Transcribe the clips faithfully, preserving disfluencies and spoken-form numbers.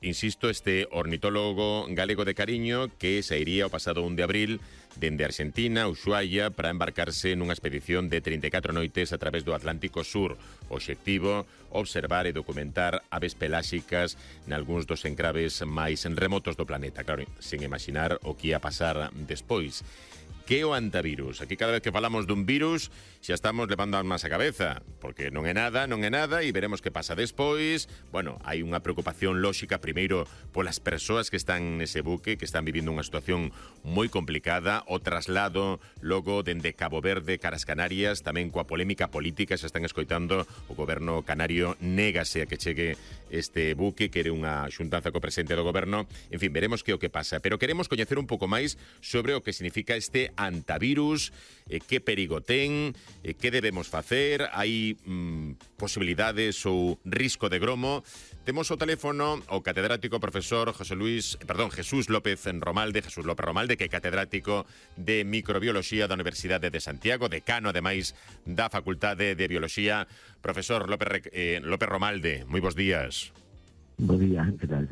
insisto, este ornitólogo galego de cariño que sairía o pasado un de abril dende Argentina, Ushuaia, para embarcarse nunha expedición de trinta e catro noites a través do Atlántico Sur. O obxectivo, observar e documentar aves peláxicas nalgúns dos encraves máis remotos do planeta. Claro, sen imaginar o que ia pasar despois. Que é o antivirus? Aquí cada vez que falamos dun virus xa estamos levando almas a cabeza, porque non é nada, non é nada, e veremos que pasa despois. Bueno, hai unha preocupación lóxica primeiro polas persoas que están nese buque, que están vivindo unha situación moi complicada, o traslado logo dende Cabo Verde caras Canarias, tamén coa polémica política, xa están escoitando, o goberno canario négase a que chegue este buque, quere unha xuntanza co presidente do goberno. En fin, veremos que o que pasa, pero queremos coñecer un pouco máis sobre o que significa este antivirus, eh, que perigo ten, eh, que debemos facer, hai mm, posibilidades ou risco de gromo. Temos o teléfono o catedrático profesor José Luis, perdón, Jesús López Romalde, Jesús López Romalde, que é catedrático de microbioloxía da Universidade de Santiago, decano ademais da Facultade de Bioloxía. Profesor López, eh, López Romalde, moi bons días. Bo día, que tal?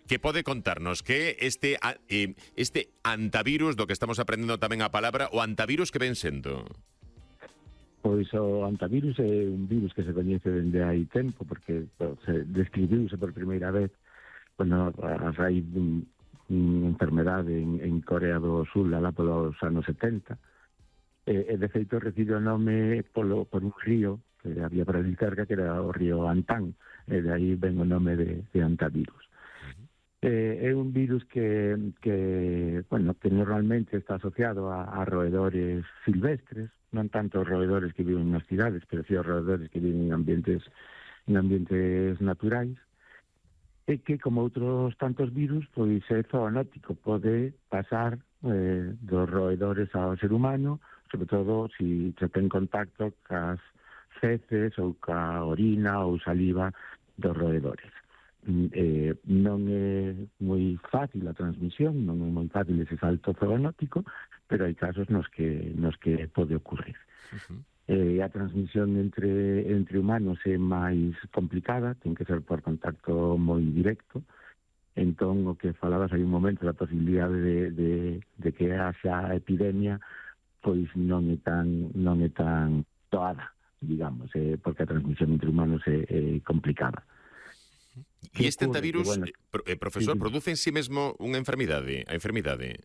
Que pode contarnos que este eh, este antivirus do que estamos aprendendo tamén a palabra, o antivirus que ven sendo? Pois o antivirus é un virus que se coñece dende hai tempo, porque se describiuse por primeira vez bueno, a raíz dun, unha enfermedade en, en Corea do Sul alá polos anos setenta, e, e de feito recibe o nome polo, por un río que había por ali cerca, que era o río Antán, e de aí ven o nome de, de antivirus. Eh, é un virus que, que, bueno, que normalmente está asociado a, a roedores silvestres, non tanto roedores que viven nas cidades, pero sí a roedores que viven en ambientes, en ambientes naturais, e que, como outros tantos virus, pois é zoonótico, pode pasar eh, dos roedores ao ser humano, sobre todo se si ten contacto cas feces ou ca orina ou saliva dos roedores. Eh, non é moi fácil a transmisión, non é moi fácil ese salto zoonótico, pero hai casos nos que nos que pode ocurrir. Uh-huh. Eh, a transmisión entre entre humanos é máis complicada, ten que ser por contacto moi directo. Entón, o que falabas hai un momento da posibilidade de, de, de que haxa epidemia, pois non é tan non é tan doada, digamos, eh, porque a transmisión entre humanos é, é complicada. E este antivirus, bueno, eh, profesor, sí, sí. produce en sí mesmo unha enfermidade, a enfermidade?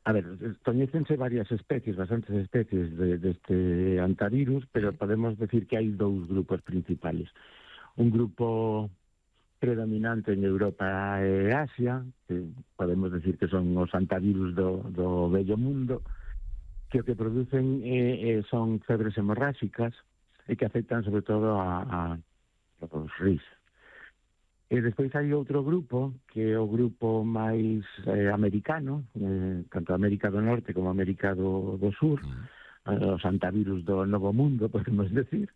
A ver, coñécense varias especies, bastantes especies de, deste antivirus, pero podemos decir que hai dous grupos principales. Un grupo predominante en Europa e Asia, que podemos decir que son os antivirus do, do vello mundo, que o que producen eh, eh, son febres hemorráxicas e que afectan sobre todo a, a os ris. E despois hai outro grupo, que é o grupo máis eh, americano, eh, tanto América do Norte como América do, do Sur, mm. eh, os antivirus do Novo Mundo, podemos decir,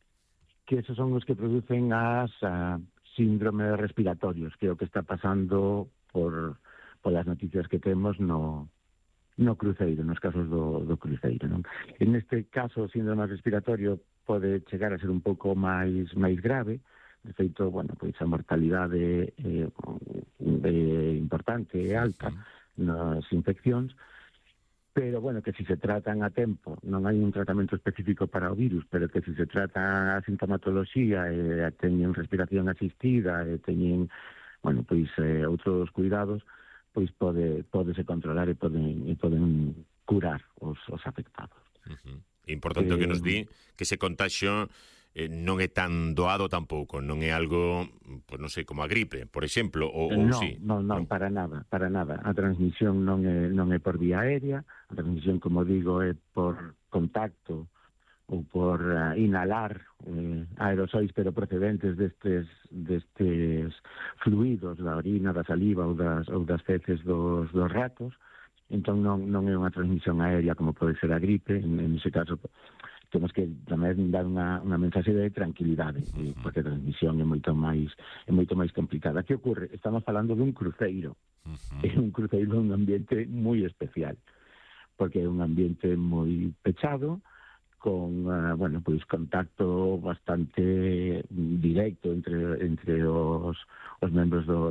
que esos son os que producen as uh, síndromes respiratorios, que é o que está pasando por, por as noticias que temos no, no cruceiro, nos casos do, do cruceiro. Non? En este caso, o síndrome respiratorio pode chegar a ser un pouco máis máis grave. De feito, bueno, pois a mortalidade é, é importante, é alta nas infeccións, pero, bueno, que si se tratan a tempo, non hai un tratamento específico para o virus, pero que si se trata a sintomatoloxía e teñen respiración asistida e teñen, bueno, pois eh, outros cuidados, pois pode podese controlar e poden, e poden curar os, os afectados. Uh-huh. Importante eh, o que nos di que ese contagio eh, non é tan doado tampouco, non é algo, pues non sei, como a gripe, por exemplo, ou, ou no, sí. Non, non, para nada, para nada. A transmisión non é, non é por vía aérea, a transmisión, como digo, é por contacto ou por uh, inhalar eh, aerosois, pero procedentes destes, destes fluidos, da orina, da saliva ou das, ou das feces dos, dos ratos. Entón non, non é unha transmisión aérea como pode ser a gripe. En, en ese caso temos que tamén dar unha, unha mensaxe de tranquilidade, uh-huh. porque a transmisión é moito máis é moito máis complicada. Que ocorre? Estamos falando dun cruceiro. Uh-huh. É un cruceiro un ambiente moi especial, porque é un ambiente moi pechado, con, uh, bueno, pois contacto bastante directo entre entre os, os membros do, do